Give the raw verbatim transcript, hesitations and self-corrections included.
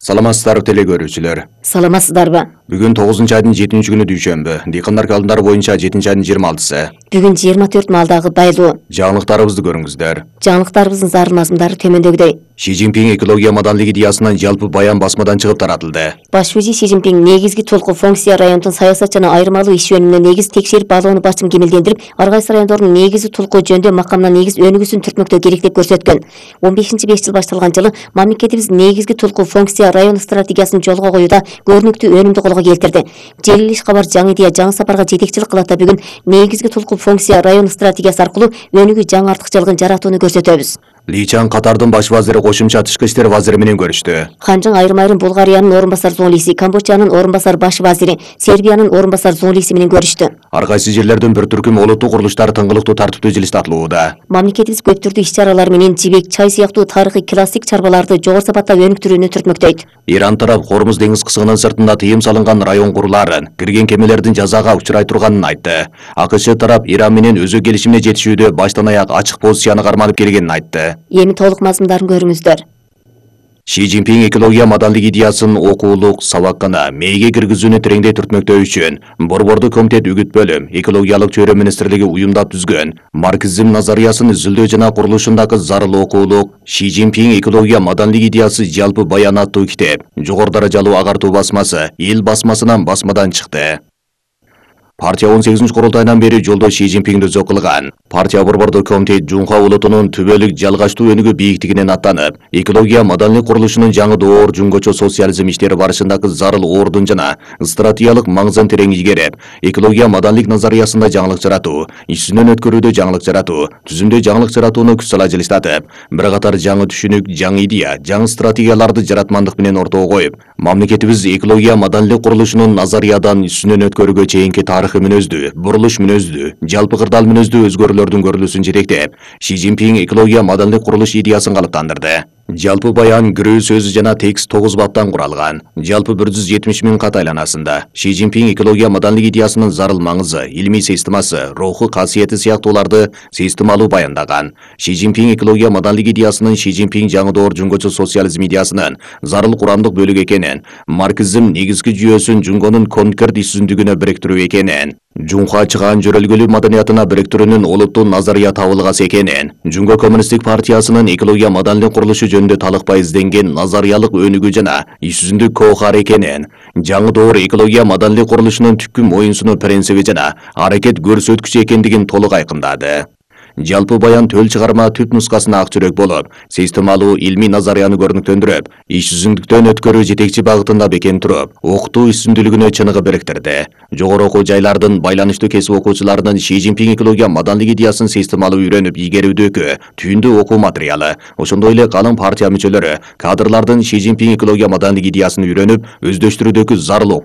Саламатсыздарбы теле көрүүчүлөр. Саламатсыздарбы? Бүгүн тогузунчу айдын жетинчи күнү дүйшөмбү. Дыйкандар календары боюнча жетинчи айдын жыйырма алтысы. Бүгүн жыйырма төрт малдагы байлоо. Жаңылыктарыбызды көрүңүздөр. Жаңылыктарыбыздын зарыл мазмундары төмөндөгүдөй. Ши Цзиньпин экология маданлык идеясынан жалпы баян басмадан чыгып таратылды. Баш вазир Ши Цзиньпин негизги толку функция райондун саясат жана айырмалуу иш жөнүнө негиз текшерип баалоону башым кемелдендирип, ар кайсы райондордун негизги толку жөндөм макамына негиз өнүгүүсүн түртмөктөө керек деп көрсөткөн. он бешинчи беш жыл башталган жылы мамлекетибиз негизги толку функция район стратегиясын жолго коюуда көрүнүктүү өнүмдү колго келтирди. Желил иш кабар жаңы идея жаңы сапарга жетекчилик кылат да бүгүн негизги толку функция район стратегиясы аркылуу өнүгүү жаңы артыкчылыгын жаратууну көрсөтөбүз. Ли Чан Катардын баш вазири кошумча тышкы иштер вазири менен көрүштү. Ханжың айрым-айрым Булгариянын орун басар зоолиси, Камбоджанын орун басар баш вазири, Сербиянын орун басар зоолиси менен көрүштү. Ар кайсы жерлерден бир түркүм олуттук курулуштар тыңгылыктуу тартиптүү жилис тартылууда. Мамлекетибиз көп түрдүү иш чаралар менен жибек, чай сыяктуу тарыхый классик чарбаларды жогору сапатта өнүктүрүүнү түртмөктөйт. Иран тарап Кормуз деңиз кысыгынын сыртында тыйым салынган район курулаарын, кирген кемелердин жазага учурай турганын айтты. АКШ тарап Иран менен өзү келишимине жетишүүдө баштан аяк ачык позицияны карманып келгенин айтты. Эми толук мазмундарын көрүңүздөр. Ши Цзиньпин экология маданлык идеясын окуулук сабаккана мээге киргизүүнү тереңдей түртмөктөө үчүн Борбордук комитет үгүт бөлүм экологиялык чөйрө министрлиги уюмдап түзгөн марксизм назариясын изилдөө жана курулушундагы зарыл окуулук Ши Цзиньпин экология маданлык идеясы жалпы баян аттуу китеп жогору даражалуу агартуу басмасы эл басмасынан басмадан чыкты. Партия он сегизинчи курултайынан бери жолдо Ши Цзиньпин дөзөө кылган. Партия Борбордук комитет Жунха улутунун түбөлүк жалгачтуу өнүгүү бийиктигинен аттанып, экология маданлык курулушунун жаңы доор жөнгөчө социализм иштери барышындагы зарыл ордун жана стратегиялык маңызын терең игерип, экология маданлык назариясында жаңылык жаратуу, иш жүзүнөн өткөрүүдө жаңылык жаратуу, түзүмдө жаңылык жаратууну күч сала жылыстатып, бир катар жаңы түшүнүк, жаңы идея, жаңы стратегияларды жаратмандык менен ортого коюп, мамлекетибиз экология маданлык курулушунун назариядан иш жүзүнөн өткөрүүгө чейинки тарыхы мүнөздүү, бурулуш мүнөздүү, жалпы кырдаал мүнөздүү өзгөрүүлөрдүн көрүлүүсүн жетектеп, Ши Цзиньпин экология маданлык курулуш идеясын калыптандырды. Жалпы баян кирүү сөзү жана текст тогуз баптан куралган. Жалпы бир жүз жетимиш миң кат айланасында Ши Цзиньпин экология маданлык идеясынын зарыл маңызы, илмий системасы, руху касиети сыяктууларды системалуу баяндаган. Ши Цзиньпин экология маданлык идеясынын Ши Цзиньпин жаңы доор жөнгөчө социализм идеясынын зарыл курамдык бөлүгү экенин, марксизм негизги жүйөсүн Жунгонун конкрет иш жүзүндүгүнө бириктирүү экенин, Жунха чыгаан жөрөлгөлүү маданиятына бириктирүүнүн олуттуу назария табылгасы экенин, Жунго коммунисттик партиясынын экология маданлык курулушу жөнүндө талыкпай изденген назариялык өнүгүү жана иш жүзүндүк коохар экенин, жаңы доор экология маданлык курулушунун түпкү моюнсунуу принциби жана аракет көрсөткүчү экендигин толук айкындады. Жалпы баян төл чыгарма түп нускасына ак жүрөк болуп, системалуу илмий назарияны көрүнүктөндүрүп, иш жүзүндүктөн өткөрүү жетекчи багытында бекем туруп, окутуу иш жүзүндүүлүгүнө чыныгы бириктирди. Жогору окуу жайлардын байланыштуу кесип окуучуларынын Ши Цзиньпин экология маданлык идеясын системалуу үйрөнүп игерүүдөгү түйүндүү окуу материалы, ошондой эле калың партия мүчөлөрү, кадрлардын Ши Цзиньпин экология маданлык идеясын үйрөнүп, өздөштүрүүдөгү зарыл